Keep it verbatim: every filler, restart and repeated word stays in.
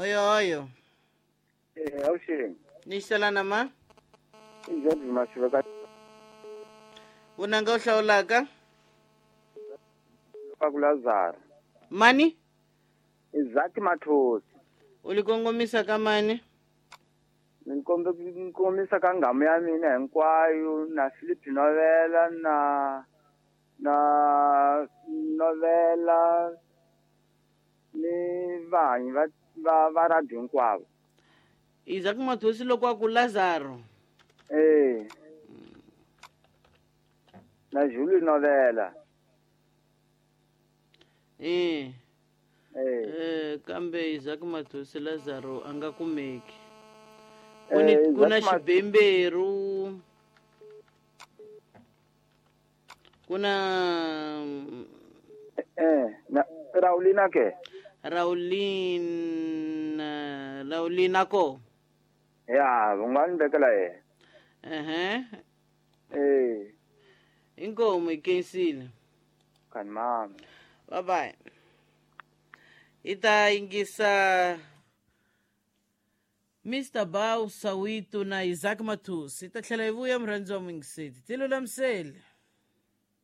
Oyo oyo. Eh, avuxeni. Ni xelana ma. I George Mashiveka. Vunanga u hlawulaka? Ka ku Lazaro. Mani? Isaac Mathosi. U li kongomisa ka mani? Ni kombe ni kongomisa ka nghamu ya mina hinkwayo na Philip Novela na na Novela ni vahanyi va va va radio hinkwavo. Isaac Mathosi loko a ku Lazaro. Eh. Na Julie Novela. Eh. Eh. Eh, kambe Isaac Mathosi Lazaro a nga kumeki. Ku ni Eh, ku na Isaac Ma- xibemberu. Ku na Eh, na Raulina ke? Raulina Raulina ko. Ya, u nga ni vekela yena. Ehe. Eh, Inkomu hi khensile. kani mama. Bye bye. Hi ta yingisa Mister Bow Sawito na Isaac Mathosi. Hi ta tlhela hi vuya, murhandzi wa muyingiseli. Ti lulamisele.